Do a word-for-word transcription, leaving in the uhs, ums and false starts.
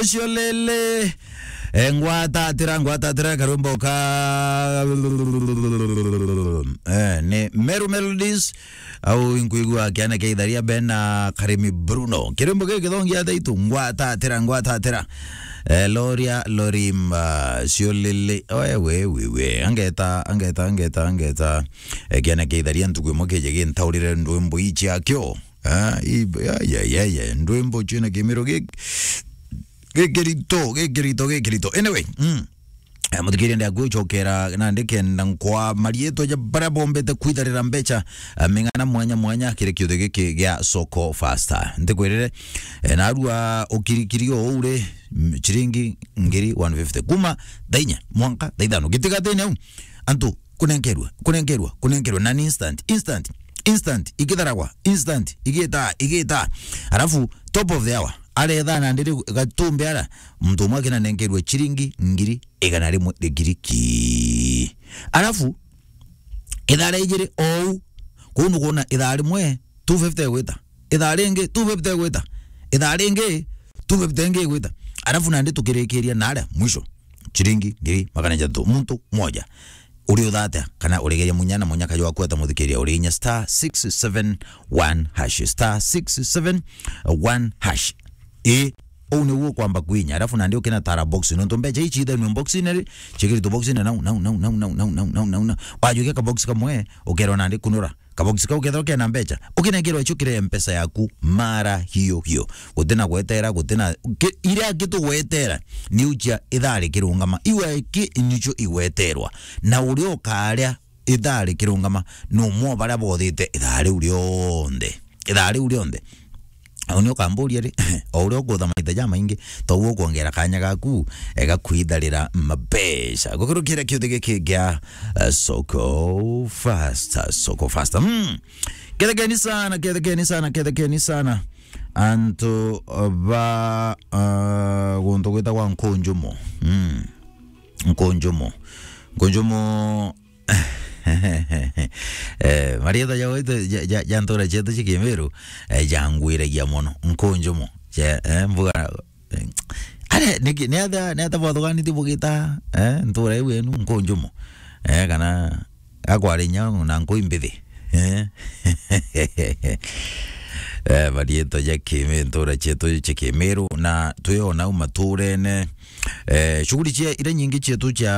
Ucio lele. Eh, ngwatatira, ngwatatira karwimbo ka, eh, ni Meru Melodies, au inkwigua kiana kia itharia bena Karimi Bruno. Kirwimbo giki githongia thaitu, ngwatatira, ngwatatira. Eh, Loria Lorimba, cio lele. Oe, we, we, we. Angeta, angeta, angeta, angeta. Eh, kiana kia itharia ntuku imwe kije gintaurire ndwimbo ici akio. Ah, i-, ya, ya, ya, ya. Ndwimbo ciina kimiro gi-, gikirito, gikirito, gikirito. Anyway, mm. Eh, muthikiria, ndi akucokera nandi kenda nkwa marietwa ja baria bombete kwitharira mbeca, eh, ming'ana mwanya mwanya kiri kiuthi giki gia Soko Faster. Ntikwirire, eh, narua ukirikiri o uri, mm, ciringi ngiri one fifty. Kuma thaa inya mwanka thaa ithano. Gitigatene au. Antu kunenkerua, kunenkerua, kunenkerua, na ni instant, instant, instant, igitharagwa, instant, igita, igita. Alafu, top of the hour, aretha nandi riu gatumbi ara, muntu umwe akinanenkerua ciringi ngiri igana rimwe rigiriki. Alafu, ithaa ria ijiri ou, kuu nukwona ithaa rimwe, two fifty igwita. Ithaa ringi, two fifty igwita. Ithaa ringi, two fifty ingi igwita. Alafu nandi tukirikiria na aria mwisho, ciringi ngiri magana jathatu. Muntu mmoja. Uri uthatia kana urigeria munya na munyaka jwa kweta muthikiria, uri inya star six seven one hash, star six seven one hash. Ii, uu niu ukwamba kwinya, alafu nandi ukinatara box, nontu mbeca ici ithenwe box-ini ri, cikiritwe box-ini nau, nau, nau. Wajukia ka box kamwe, ukerwa nandi kunura. Ka box kau kethirwa kena mbeca, ukinenkerwa icio kiri mpesa yaku mara hiyo hiyo. Gutina gwetera, gutina ki-, iria kitugwetera ni ucia ithaa rikirungama. Iwe ki nicio igweterwa. Na uria ukaria ithaa rikirungama, ni umwe o baria bothite ithaa riu rionthe. Ithaa riu rionthe. Au ni ukamburia ri, o uria ukutha maita jamaingi, to uguo ukwongera kanya gaku, eh, ga kwitharira mabeca. Gukurukira kiuthi giki gia, eh, Soko Faster, Soko Faster. Mm. Kethekeni sana, kethekeni sana, kethekeni sana. Antu, uh, ba, uh, guntu gwitagwa Nkunjumo. Mm. Nkunjumo. Nkunjumo, eh, marietwa ja gwitu, ja, ja, ja ntura cietu cia Kimiru, eh, jangwiragia mono. Nkunjumo. Je, eh, mbuga, eh, are, niki, ni ata, ni ata bwathuganitie bugita, eh, ntura iu yenu Nkunjumo? Eh, kana akwarinya na nkui mbithi. Eh? Eh, marietwa ja Kimi-, ntura cietu cia Kimiru, na twi o nau maturene. Eh, shughuli cia, iria nyingi cietu cia